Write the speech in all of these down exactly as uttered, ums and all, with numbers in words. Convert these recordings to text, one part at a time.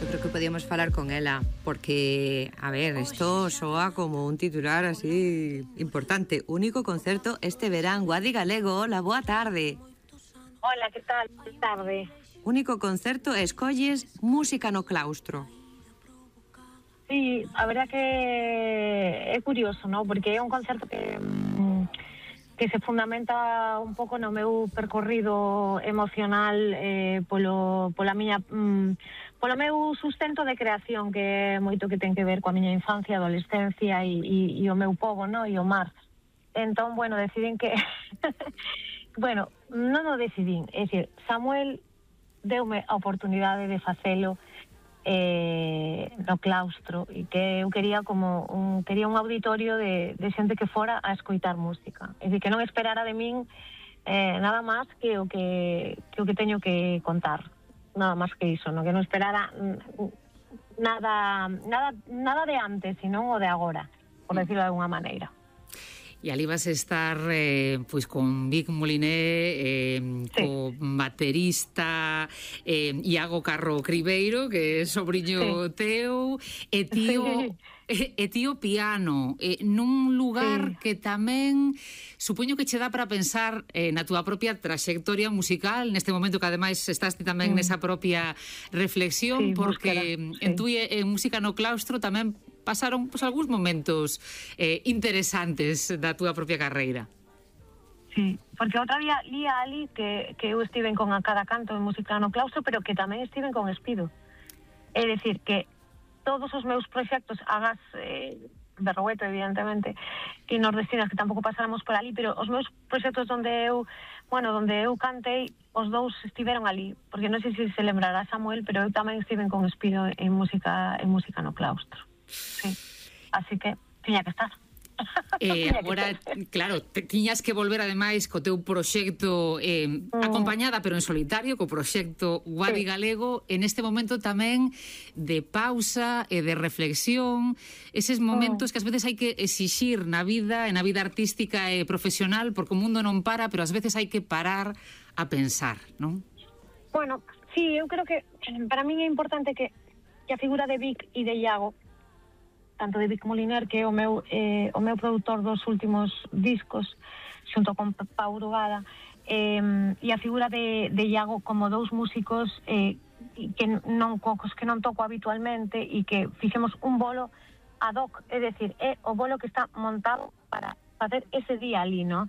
Eu creo que podíamos falar con ela, porque, a ver, isto soa como un titular así importante. Único concerto este verán. Guadi Galego, hola, boa tarde. Hola, que tal? Boa tarde. Único concerto e escolles música no claustro. Sí, a verdad que é curioso, ¿no? Porque é un concerto que que se fundamenta un pouco no meu percorrido emocional eh, polo, pola miña mm, polo meu sustento de creación, que é moito que ten que ver coa miña infancia, adolescencia e, e, e o meu pobo, no? E o mar. Entón, bueno, decidín que bueno, non o decidín, é dicir, Samuel deume a oportunidade de facelo eh, no claustro, e que eu quería como un, quería un auditorio de, de xente que fora a escoitar música, é dicir, que non esperara de min eh, nada máis que o que, que o que teño que contar, nada máis que iso, no? Que non esperara nada nada nada de antes, sino o de agora, por decirlo de alguna maneira. E ali vas a estar eh, pois con Vic Moliné, eh, sí. co baterista eh, Iago Carro Cribeiro, que é sobriño sí. teu, e tío, sí. e, e tío piano, eh, nun lugar sí. que tamén supoño que che dá para pensar eh, na túa propia traxectoria musical, neste momento que ademais estás ti tamén mm. nesa propia reflexión, sí, porque búsqueda, en sí. tú e en Música no Claustro tamén pasaron pues, algúns momentos eh, interesantes da túa propia carreira. Sí, porque outra día lía ali que, que eu estiven con a cada canto de Música no Claustro, pero que tamén estiven con Espido. É dicir, que todos os meus proxectos, hagas eh, Berrogueto, evidentemente, e Nordestinas, que tampouco pasáramos por ali, pero os meus proxectos onde eu, bueno, onde eu cantei, os dous estiveron ali, porque non sei se se lembrará Samuel, pero eu tamén estiven con Espido en música, en música no Claustro. Sí, así que tiña que estar. Eh, agora, claro, te, tiñas que volver ademais co teu proxecto eh, mm. acompañada, pero en solitario, co proxecto Guadi sí. Galego, en este momento tamén de pausa e de reflexión, eses momentos mm. que ás veces hai que exixir na vida, en a vida artística e profesional, porque o mundo non para, pero ás veces hai que parar a pensar, non? Bueno, sí, eu creo que para min é importante que, que a figura de Vic e de Iago, tanto de Vic Moliner, que é o meu, eh, o meu produtor dos últimos discos, xunto con Pau Urugada, eh, e a figura de, de Iago como dous músicos eh, que non cocos que non toco habitualmente e que fixemos un bolo ad hoc, é dicir, é o bolo que está montado para facer ese día ali, no?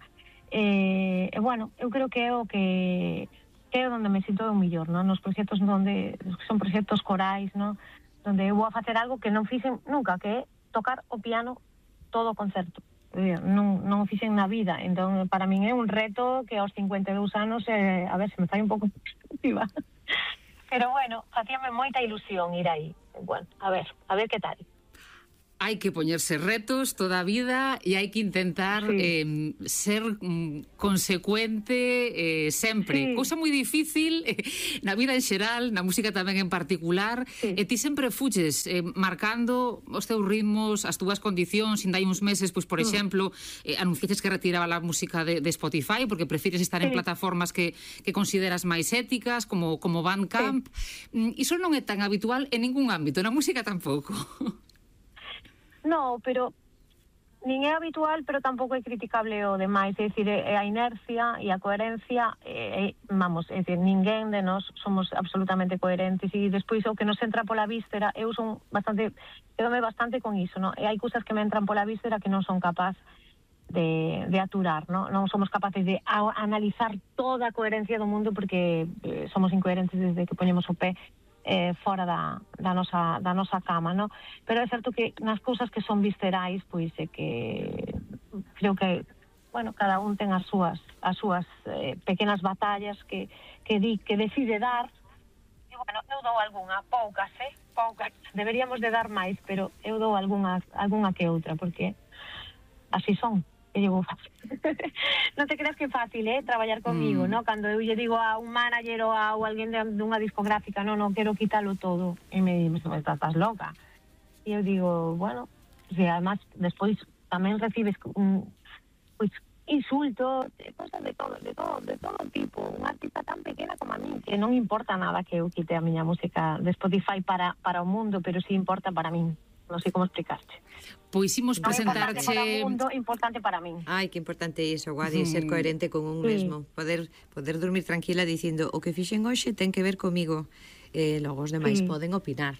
E, eh, bueno, eu creo que é o que, que é onde me sinto o millor, no? Nos proxectos onde son proxectos corais, no? Donde eu vou a facer algo que non fixen nunca, que é tocar o piano todo o concerto. Non, non o fixen na vida, entón para min é un reto que aos cincuenta e dous anos, eh, a ver, se me fai un pouco positiva. Pero bueno, facíame moita ilusión ir aí. Bueno, a ver, a ver que tal. Hai que poñerse retos toda a vida e hai que intentar sí. eh, ser mm, consecuente eh, sempre. Sí. Cousa moi difícil eh, na vida en xeral, na música tamén en particular, sí. e ti sempre fuches eh, marcando os teus ritmos, as túas condicións, ainda hai uns meses, pois, por mm. exemplo, eh, anunciaches que retiraba a música de, de Spotify porque prefires estar sí. en plataformas que, que consideras máis éticas, como, como Bandcamp. Sí. Iso non é tan habitual en ningún ámbito, na música tampouco. No, pero nin é habitual, pero tampouco é criticable o demais, é dicir, é a inercia e a coherencia, é, vamos, é dicir, ninguén de nós somos absolutamente coherentes, e despois o que nos entra pola víscera, eu son bastante, quedome bastante con iso, no? E hai cousas que me entran pola víscera que non son capaz de, de aturar, no? Non somos capaces de a, analizar toda a coherencia do mundo, porque eh, somos incoherentes desde que poñemos o pé Eh, fora da, da, nosa, da nosa cama, no? Pero é certo que nas cousas que son viscerais, pois é que creo que, bueno, cada un ten as súas as súas eh, pequenas batallas que, que, di, que decide dar, e, bueno, eu dou algunha, poucas, eh? Poucas, deberíamos de dar máis, pero eu dou algunha, algunha que outra, porque así son. E digo, non te creas que é fácil, eh, traballar comigo, mm. no? Cando eu lle digo a un manager ou a ou alguén de, de unha discográfica, non, non, quero quítalo todo, e me di, estás loca. E eu digo, bueno, si además despois tamén recibes un, pois, insultos, cosas de todo, de todo, de todo tipo. Unha artista tan pequena como a mí, que non importa nada que eu quite a miña música de Spotify para, para o mundo, pero sí importa para min. Non sei como explicaste. Pois imos presentarche... Non é importante para o mundo, importante para min. Ai, que importante iso, Guadi, ser coherente con un Sí. mesmo. Poder poder dormir tranquila dicindo o que fixen hoxe ten que ver comigo. Eh, logo os demais Sí. poden opinar.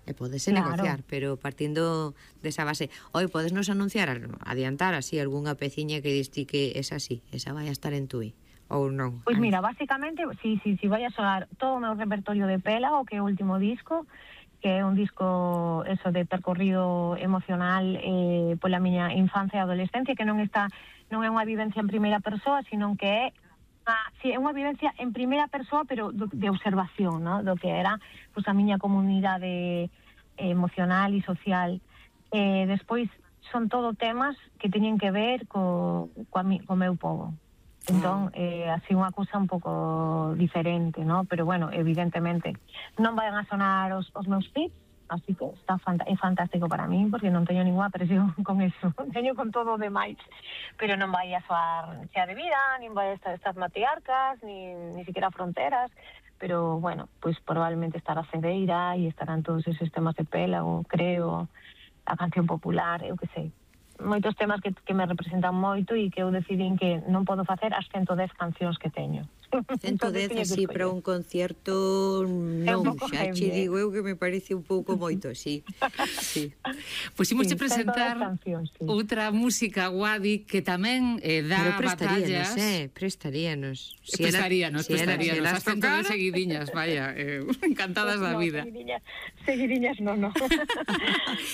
E podese Claro. negociar, pero partindo desa base. Oi, podes nos anunciar, adiantar así algunha peciña que diste que es así, esa vai a estar en tui, ou non? Pois Ai. mira, básicamente, si, si, si vai a sonar todo o meu repertorio de Pela, o que é o último disco, que é un disco eso de percorrido emocional eh, pola miña infancia e adolescencia, que non está non é unha vivencia en primeira persoa, sino que é ah, sí, é unha vivencia en primeira persoa, pero do, de observación, ¿no? Do que era pues, a miña comunidade emocional e social. Eh, despois son todo temas que teñen que ver co, co, mi, co meu povo. Entón, eh, así unha cousa un pouco diferente, ¿no? Pero bueno, evidentemente non van a sonar os, os meus pits, así que está fant- é fantástico para mí, porque non teño ninguna presión con eso, teño con todo o demais, pero non vai a soar Chea de Vida, nin vai a estar estas matriarcas, nin, ni siquiera Fronteras, pero bueno, pues probablemente estará Cedeira e estarán todos esos temas de Pela, o creo, a canción popular, eu que sei. Moitos temas que, que me representan moito e que eu decidín que non podo facer as ciento dez cancións que teño. ciento dez así para un concierto non, xa che digo eu que me parece un pouco moito, sí. Sí. Pois imos Sí, che presentar cancións, sí. outra música, Guadi, que tamén eh, dá Pero prestaríanos, batallas. eh, prestaríanos. Si prestaríanos, si prestaríanos. elas As cento de tocaran, seguidiñas, vaya, eh, encantadas da No, vida. seguidiñas, seguidiñas no, no.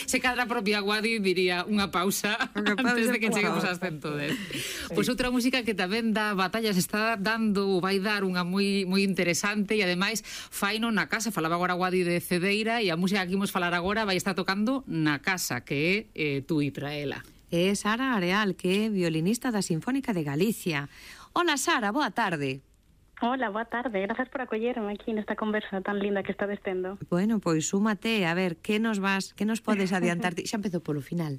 Se cadra a propia Guadi diría unha pausa Unha pausa, antes de que unha cheguemos pausa. ás cento dez. Pois outra música que tamén dá batallas, está dando, vai dar unha moi moi interesante e ademais faino na casa. Falaba agora Guadi de Cedeira e a música que imos falar agora vai estar tocando na casa, que é eh, tú e Traela. É Sara Areal, que é violinista da Sinfónica de Galicia. Hola, Sara, boa tarde. Hola, boa tarde. Gracias por acollerme aquí nesta conversa tan linda que estades tendo. Bueno, pois súmate, a ver, que nos vas, que nos podes adiantar ti? Xa empezou polo final.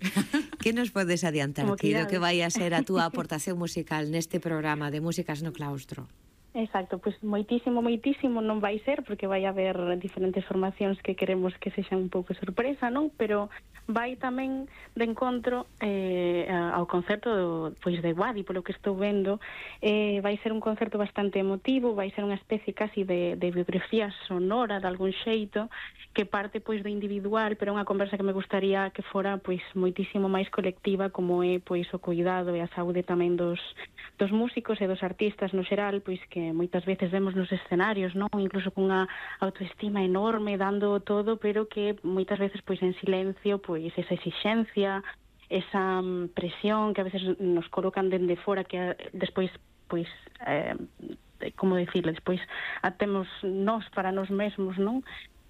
Que nos podes adiantar Como ti do quirades. que vai a ser a túa aportación musical neste programa de Músicas no Claustro? Exacto, pois moitísimo, moitísimo non vai ser, porque vai haber diferentes formacións que queremos que sexan un pouco sorpresa, non? Pero vai tamén de encontro eh, ao concerto do, pois de Guadi, polo que estou vendo. Eh, vai ser un concerto bastante emotivo, vai ser unha especie casi de, de biografía sonora de algún xeito, que parte pois do individual, pero unha conversa que me gustaría que fora pois moitísimo máis colectiva, como é pois o cuidado e a saúde tamén dos dos músicos e dos artistas no xeral, pois que moitas veces vemos nos escenarios, non? Incluso con unha autoestima enorme, dando todo, pero que moitas veces pois en silencio, pois esa exixencia, esa mm, presión que a veces nos colocan dende fora, que a, despois pois eh, como dicirle, despois a temos nós para nós mesmos, non?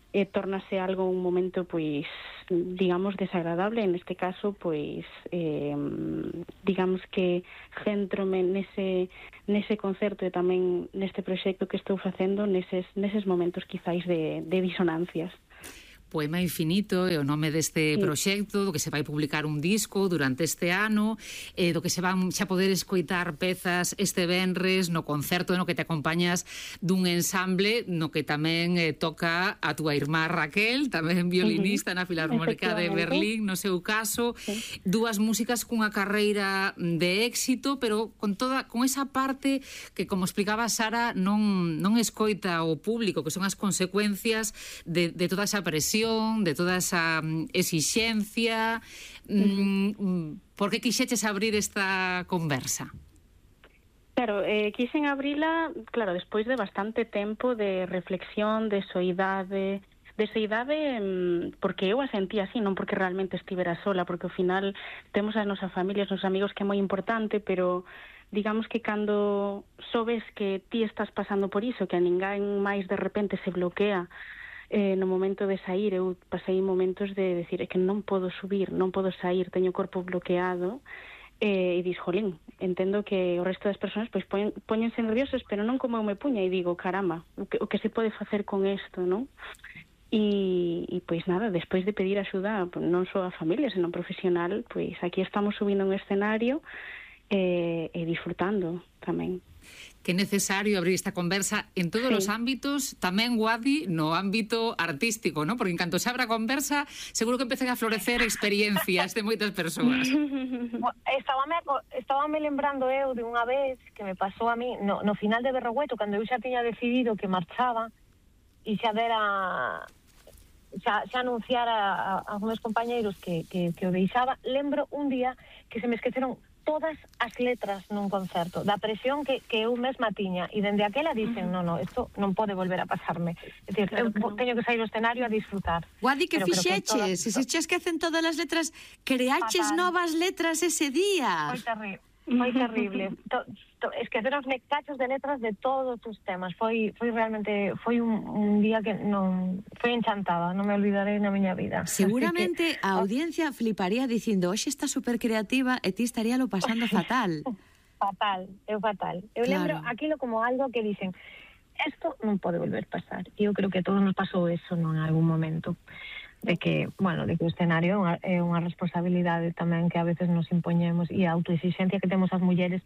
E tornase algo un momento pois digamos desagradable, en este caso pois eh, digamos que centrome nese nese concerto e tamén neste proxecto que estou facendo neses, neses momentos quizáis de, de disonancias. Poema Infinito é o nome deste Sí. proxecto, do que se vai publicar un disco durante este ano, eh, do que se van xa poder escoitar pezas este venres no concerto no que te acompañas dun ensamble no que tamén eh, toca a túa irmá Raquel, tamén violinista uh-huh. na Filarmónica de Berlín, no seu caso, sí. Dúas músicas cunha carreira de éxito, pero con toda con esa parte que, como explicaba Sara, non, non escoita o público, que son as consecuencias de, de toda esa presión, de toda esa exixencia. Uh-huh. Por que quixeches abrir esta conversa? Claro, eh, quixen abrila, claro, despois de bastante tempo de reflexión, de soidade, de soidade porque eu a sentía así, non porque realmente estivera sola, porque ao final temos a nosa familia, os nosos amigos, que é moi importante, pero digamos que cando sobes que ti estás pasando por iso, que a ninguén máis de repente se bloquea Eh, no momento de sair, eu pasei momentos de decir, é que non podo subir, non podo sair, teño o corpo bloqueado, eh, e dis, jolín, entendo que o resto das persoas pois poñen, poñense nerviosas, pero non como eu me puña, e digo, caramba, o que, o que se pode facer con isto, non? E, e pois nada, despois de pedir axuda non só a familia, senón profesional, pois aquí estamos subindo un escenario e, e disfrutando tamén. Que é necesario abrir esta conversa en todos sí. os ámbitos, tamén, Guadi, no ámbito artístico, ¿no? Porque en canto se abra a conversa, seguro que empezan a florecer experiencias de moitas persoas. Estábame, estábame lembrando eu de unha vez que me pasou a mí no, no final de Berrogueto, cando eu xa tiña decidido que marchaba e xa dera xa, xa anunciara a, a, a meus compañeiros que, que, que o deixaba. Lembro un día que se me esqueceron todas as letras nun concerto, da presión que, que eu mesma tiña, e dende aquela dicen, uh-huh. no, no, isto non pode volver a pasarme. É dicir, claro, eu no. teño que sair ao escenario a disfrutar. Guadi, que fixeches? Se se che esquecen todas as letras, creaches Fatal. novas letras ese día. Foi terrible. Foi terrible. To, to, esqueceronme cachos de letras de todos os temas. Foi foi realmente foi un, un día que non foi enchantada, non me olvidarei na miña vida. Seguramente que, a audiencia fliparía dicindo, "Oxe, está super creativa", e ti estaría lo pasando fatal. Fatal, eu fatal. Eu claro. lembro aquilo como algo que dicen, "Esto non pode volver a pasar". E eu creo que a todos nos pasou eso, non, en algún momento. De que, bueno, de que o escenario é unha responsabilidade tamén que a veces nos impoñemos, e a autoexigencia que temos as mulleres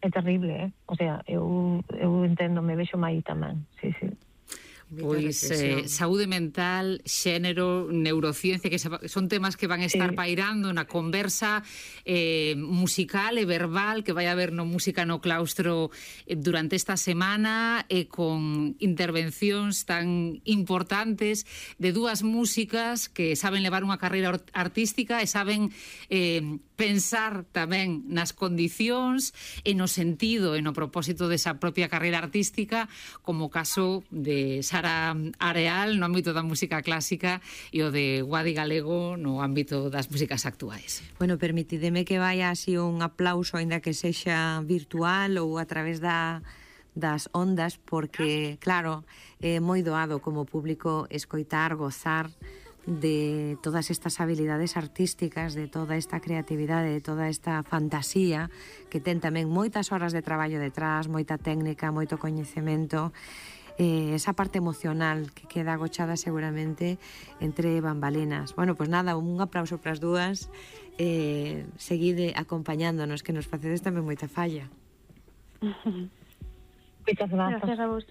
é terrible, eh? O sea, eu, eu entendo, me vexo aí tamén, sí, sí. Pois eh, saúde mental, xénero, neurociencia, que son temas que van a estar sí. pairando na conversa eh, musical e verbal que vai haber no Música no Claustro eh, durante esta semana, e eh, con intervencións tan importantes de dúas músicas que saben levar unha carreira artística e saben eh, pensar tamén nas condicións e no sentido e no propósito desa propia carreira artística, como o caso de Sara Areal no ámbito da música clásica e o de Guadi Galego no ámbito das músicas actuais. Bueno, permitideme que vaya así un aplauso, aínda que sexa virtual ou a través da das ondas, porque, claro, é moi doado como público escoitar, gozar de todas estas habilidades artísticas, de toda esta creatividade, de toda esta fantasía que ten tamén moitas horas de traballo detrás, moita técnica, moito coñecemento, eh, esa parte emocional que queda agochada seguramente entre bambalinas. Bueno, pues nada, un aplauso para as dúas, eh, seguide acompañándonos, que nos facedes tamén moita falla. Moitas grazas. Gracias a vos.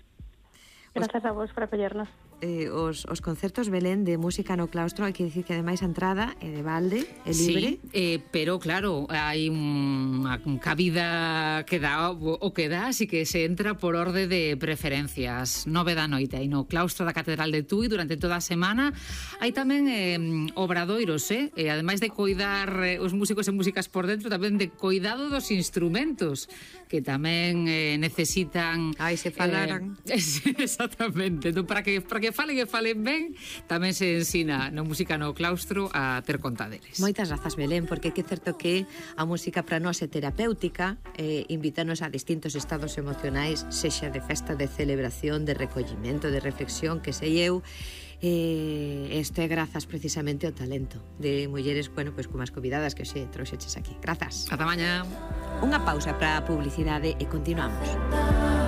Gracias a vos por apoyarnos. Eh, os, os concertos, Belén, de Música no Claustro, hai que dicir que ademais a entrada é de balde, é libre. Sí, eh, pero claro, hai unha cabida que dá o que dá, así que se entra por orde de preferencias. Nove da noite aí no Claustro da Catedral de Tui durante toda a semana. Hai tamén eh, obradoiros, eh? E ademais de coidar eh, os músicos e músicas por dentro, tamén de coidado dos instrumentos, que tamén eh, necesitan... Ai, se falaran. Eh, exactamente. Entón, para que, para que falen e falen ben, tamén se ensina no Música no Claustro a ter contaderes. Moitas grazas, Belén, porque é certo que a música para nós é terapéutica, eh, invítanos a distintos estados emocionais, sexa de festa, de celebración, de recollimento, de reflexión, que sei eu. Eh, isto é grazas precisamente ao talento de mulleres, bueno, pois como as convidadas que xe trouxeches aquí. Grazas. Ata mañá. Unha pausa para a publicidade e continuamos.